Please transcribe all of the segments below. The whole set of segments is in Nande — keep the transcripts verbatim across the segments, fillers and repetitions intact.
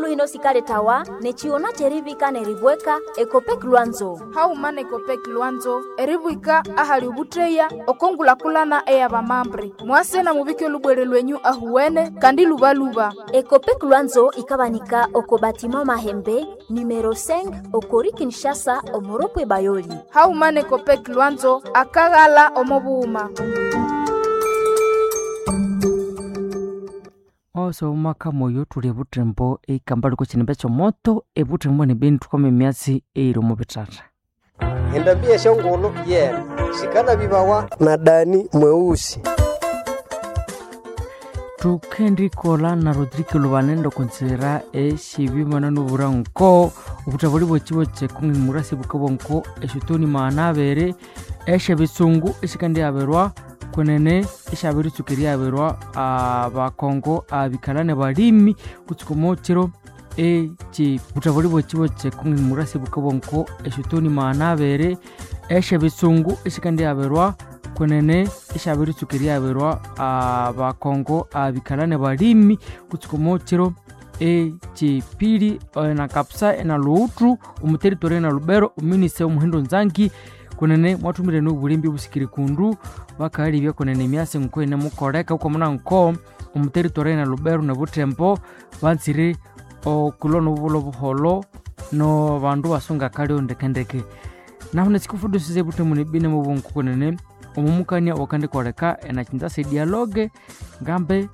hino sikaletawa nechiona cherivika neribweka Ekopek Lwanzo. Hauma na Ekopek Lwanzo eribwika ahali obuteya okongulakulana eyabamambre mwase na mubike olubwere lwenyu ahuwene kandi lubaluba. Ekopek Lwanzo ikabanika oko batima Mahembe numero cinq okori Kinshasa omoropwe Bayoli. Hauma na Ekopek Lwanzo akaghala omo bughuma. Oso omwaka moyo thuli ebuthembo eikamba liko kinimba ekyomoto ebuthembo nebeni thukama emyatsi eyiri omo bithatha. Endambi yesyongulhu yene sikanabibawa na Dani Mweusi. Thukendikolha na Rodrigo Lubanende okonzira esyebimana nobura nko obuthabuli bwekibo kyekung'imura sibukabwa nko esyotoni maghana abiri esyebisungu esikandihaberwa kwenene esyabiritsuka erihaberwa abakongo abikalha nebalimi kutsuka omokiro ekyi buthabuli bwekibo kyekung'imura sibukabwa nko esyotoni maghana abiri esyebisungu esikandihaberwa kwenene esyabiritsuka erihaberwa abakongo abikalha nebalimi kutsuka omokiro ekyipili na kapsa ena luuthu omuteritori ena lubero ominista omuhindo nzangi kwenene mwathumire nobulimbi obusikiri kundu bakalibya kwenene emyasi nko inemukoleka ukwamuna nko omuteritori ena lubero nebuthembo banzire okulwa nobulho buholho nobandu basunga kalyo ndekendeke nahu nesikufudusisa ebuthembo nebini mubungu kwenene omumukania wakandikoleka enakinzasa edialogue ngambe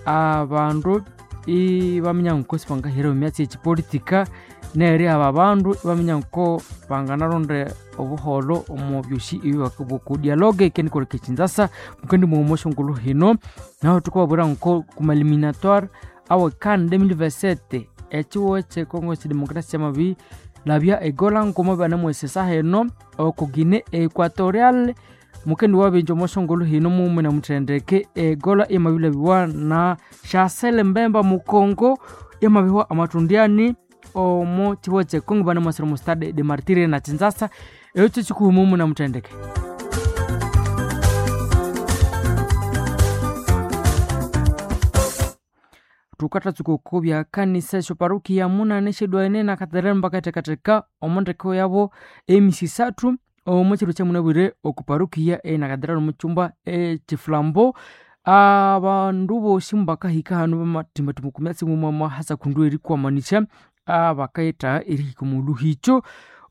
abandu ibaminya nko sibangahira emyatsi ekipolitika neri aba bandu ibaminya nko banganaronda obuholho omu byosi ebibakabuku dialogue ikendikoleka ekinzasa mukendi mughuma ngulu hino nahu thukababwira nko kuma eliminatoire awe CAN twenty twenty-seven ekiwo ekyekongo ekyidemokrasia kyamabi labya egola nkoma banemwesesa heno oko Guinea Equatorial mukendi wabinja omoshongolo hino mume na muthendeke egola yamabilabiwa na Chancel Mbemba mukongo yamabiwa amatundiani omo chiwo chekongo banemwasira mu Stade de Martyrs na Kinshasa ekyo kikuhuma mume na muthendeke. Thukathatsuka oko byakanisa esyoparukiya munane esyedwaene na katedrali mbakathekatheka omo ndeko yabo emisi isathu omo kiro kyamunabwire oku parukiya ena katedrali omu kyumba ekyifulambo abandu bosi mubakahika hanu bamathimbathimba oku myatsi mumwamwa hasa kundu erikwamanisya abakayithaha erihika omu luhikyo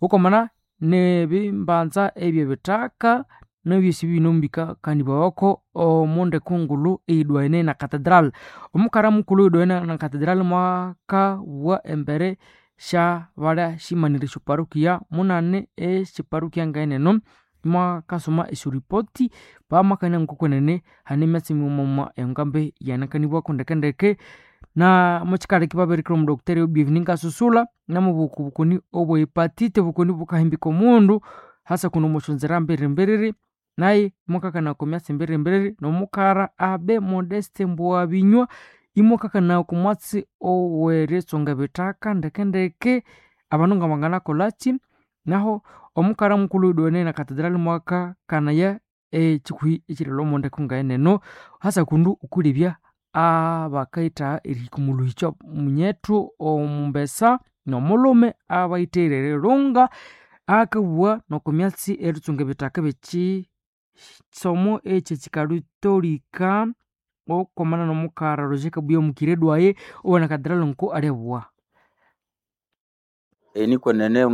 okwamana nebimbanza ebyebithaka nebyosi bino mbikakanibwawako omu ndeko ngulhu eyidwaene na katedral. Omukara mukulhu eyidwaene na katedral mwakabugha embere syabalya syimanire esyoparukiya munane esyiparukiya ngeneno mwakasoma esyoripoti bamakania ngokwenene hane emyatsi mighuma engambe yanakanibwako ndekendeke na mukikaleka ibabirikira omudokiteri Bienvenu Kasusula namubuka obukoni obwa hepatite obukoni bukahimbika omundu hasa kuno omusyonzera mbirimbiriri naye mwakakana oko myatsi mbirimbiriri nomukara Abe Modeste Mbwabinywa imwakakana oko mwatsi oweritsunga ebithaka ndekendeke abandu ngabanganakolhaki naho omukara mukulhu oyuduwene na katedrali mwakakanaya ekikuhi ekirilwa omo ndeko ngayeneno hasa kundu okulebya abakayithaha erihika omu luhikyo munyethu omumbesa nomulhume abayithaghire erilunga akabugha noko myatsi eritsunga ebithaka ebyekisomo ekyekikalutolika okwamana nomukara Roger Kabuya omukire dwaye owana katedrali nko alyabuwa. Eni kwenene.